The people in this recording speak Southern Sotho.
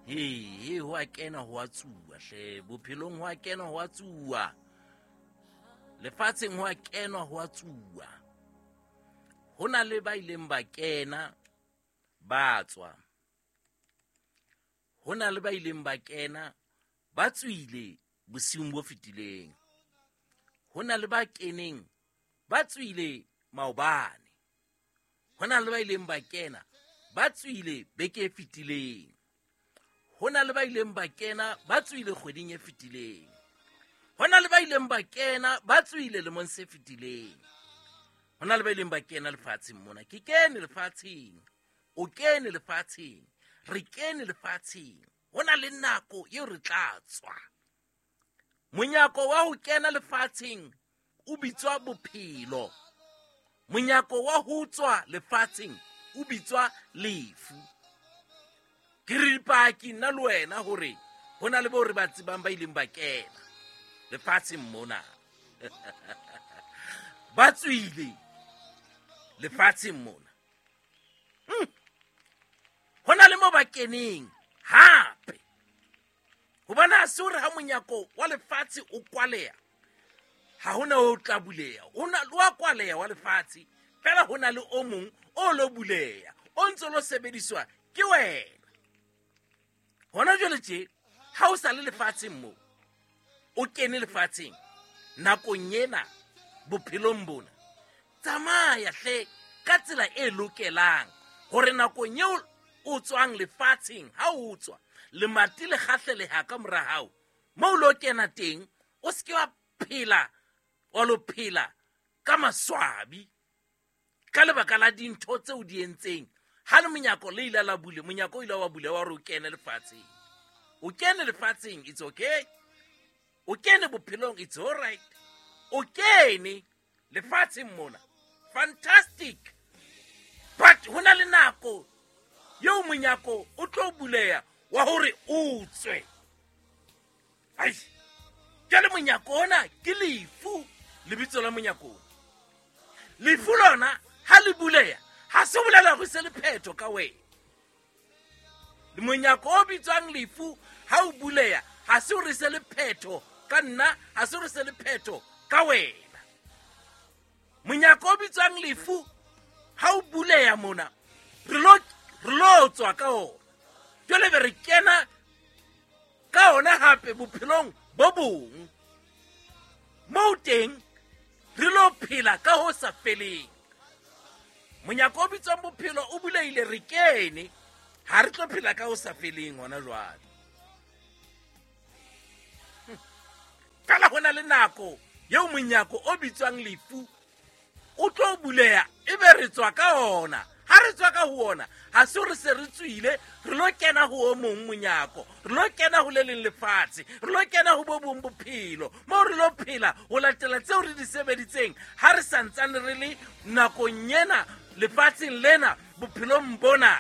He ho a kena ho a tsuwa hle, bophelong ho a kena ho a tsuwa, lefatsheng ho a kenwa ho a tsuwa. Ho na le ba ileng ba kena ba tswa, ho na le ba ileng ba kena ba tswile bosiung bo fetileng, ho na le ba keneng ba tswile maobane, ho na le ba ileng ba kena ba tswile beke e fetileng, ho na le ba ileng ba kena ba tswile kgweding e fetileng, ho na le ba ileng ba kena ba tswile lemong se fetileng, ho na le ba ileng ba kena lefatsheng mona. Ke kene lefatsheng, o kene lefatsheng, re kene lefatsheng. Ho na le nako eo re tla tswa. Monyako wa ho kena lefatsheng o bitswa bophelo, monyako wa ho tswa lefatsheng o bitswa lefu. Ke re dipaki nna le wena hore ho na le bao re ba tsebang ba ileng ba kena lefatsheng mona, ba tswile lefatsheng mona. Ho na le mo ba keneng hape, hobane ha se hore ha monyako wa lefatshe o kwaleha ha hona o tla buleha. O na wa kwaleha wa lefatshe fela, ho na le o mong o lo buleha, o ntse lo sebediswa ke wena hona jwale tje. Ha o sa le lefatsheng mo, o kene lefatsheng nakong ena bophelong bona, tsamaya hle ka tsela e lokelang hore nakong eo o tswang lefatsheng, ha o tswa lemati le kgahleleha ka mora hao, mo o lo kena teng o se ke wa phela wa lo phela ka maswabi ka lebaka la dintho tseo di entseng. Ha le monyako le ile la bule, monyako o ile wa bule wa re o kene lefatsheng, o kene lefatsheng, it's okay. O kene bophelong, it's all right. O kene lefatsheng mona, fantastic. But ho na le nako eo monyako o tlo buleha wa hore o tswe. Ai, jwale monyako ona ke lefu, lebitso la monyako ona. Lefu lona ha le buleha ha se bolela hore se le phetho ka wena. Monyako o bitswang lefu ha o buleha ha se hore se le phetho ka nna, ha se hore se le phetho ka wena. Monyako o bitswang lefu ha o buleha mona, re lo tswa ka ona, jwale be re kena ka ona hape bophelong bo bong, moo teng re lo phela ka ho sa feleng. Monyako o bitswang bophelo o bulehile, re kene, ha re tlo phela ka ho sa feleng hona jwale. Fela ho na le nako eo monyako o bitswang lefu o tlo buleha, ebe re tswa ka ona. Ha re tswa ka ho ona, ha se re se re tswile, re lo kena ho o mong monyako, re lo kena ho le leng lefatshe, re lo kena ho bo bong bophelo, moo re lo phela ho latela tseo re di sebeditseng ha re santsane re le nakong ena lefatsheng lena bophelong bona.